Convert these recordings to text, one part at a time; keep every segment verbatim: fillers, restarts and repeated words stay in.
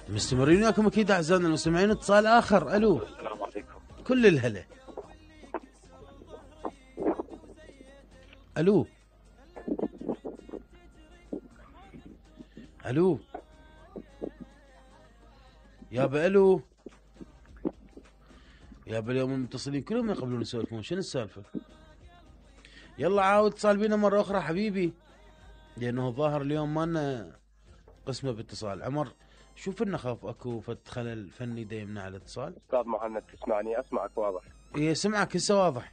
مستمرين وياكم اكيد اعزائنا المستمعين. اتصال اخر. الو. السلام عليكم. كل الهلا. الو الو يابا. الو يابا. اليوم المتصلين كلهم يقبلون يسولفون، شنو السالفه؟ يلا عاود اتصال بينا مره اخرى حبيبي، لانه الظاهر اليوم ما لنا قسمه باتصال. عمر شوف لنا خاف اكو فد خلل فني دا يمنع الاتصال. استاذ مهند تسمعني؟ اسمعك واضح. اي سمعك هسه واضح.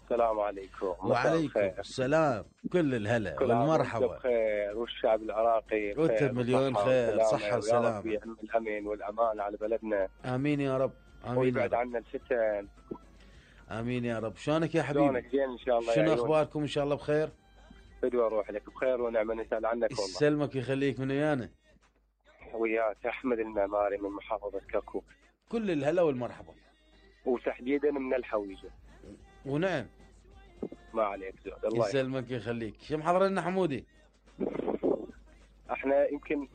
السلام عليكم. وعليكم السلام. كل الهلا والمرحبا. بخير والشعب العراقي بخير. وانت مليون خير. صحة وسلامة. يا رب الامن والامان على بلدنا. امين يا رب. امين. ويبعد عنا الفتن. امين يا رب. شلونك يا حبيبي؟ شلونك؟ زين ان شاء الله. شنو اخباركم؟ ان شاء الله بخير. بدو اروح لك بخير ونعمه، نسال عنك والله. يسلمك ويخليك. من ويانا؟ وياك احمد المعماري من محافظه كركوك. كل الهلا والمرحبا. وتحديدا من الحويجه. ونعم. ما عليك زود. الله يسلمك ويخليك. شو محضر لنا حمودي؟ احنا يمكن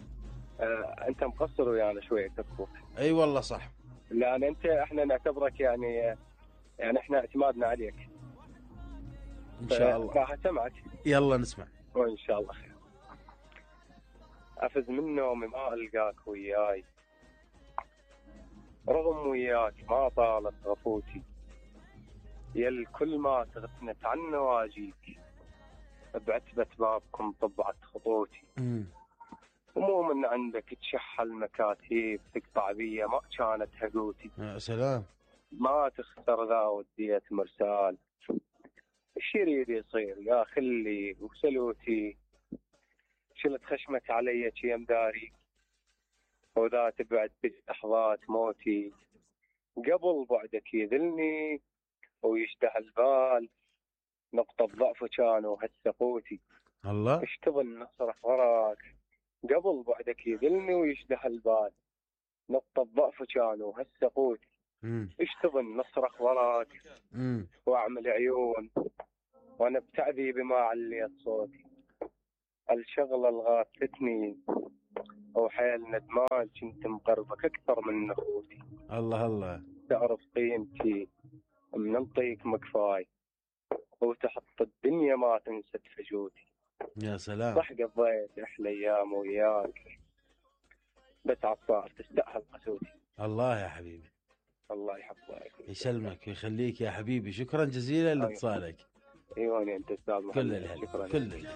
آه انت مقصر ويانا شويه كركوك. اي والله صح. لان انت احنا نعتبرك يعني يعني احنا اعتمادنا عليك. ان شاء الله. راح اسمعك. يلا نسمع. وان شاء الله خير. افز من نومي ما القاك وياي، رغم وياك ما طالت غفوتي، يا الكل ما تغفنت عن نواجيك، بعتبة بابكم طبعت خطوتي. امم ومو من عندك تشح المكاتيب تقطع بيا ما كانت هقوتي. يا سلام. ما تختار ذا وديت مرسال، ايش يريد يصير يا خلي وسلوتي، شلت خشمك علي شي مداري، وذا تبعد بلحظات موتي، قبل بعدك يذلني ويشتهى البال، نقطة ضعف كانوا هسه قوتي. الله. ايش تظن نصرخ وراك، قبل بعدك يذلني ويشتهى البال، نقطة ضعف كانوا هسه قوتي. ايش تظن نصرخ وراك امم واعمل عيون وانا بتعذيبي ما عليت صوتي، الشغلة الغاثتني وحيل ندمان كنت مقربك اكثر من اخوتي. الله الله. تعرف قيمتي منطيك مكفاي، وتحط الدنيا ما تنسى فجوتي. يا سلام. صح قضيت احلى ايام وياك، بس عصار تستاهل قسوتي. الله يا حبيبي. الله يحفظك. يسلمك ويخليك يا حبيبي. شكرا جزيلا لاتصالك. ايوه انت استاذ محمد. كل الهلا. كل الهلا.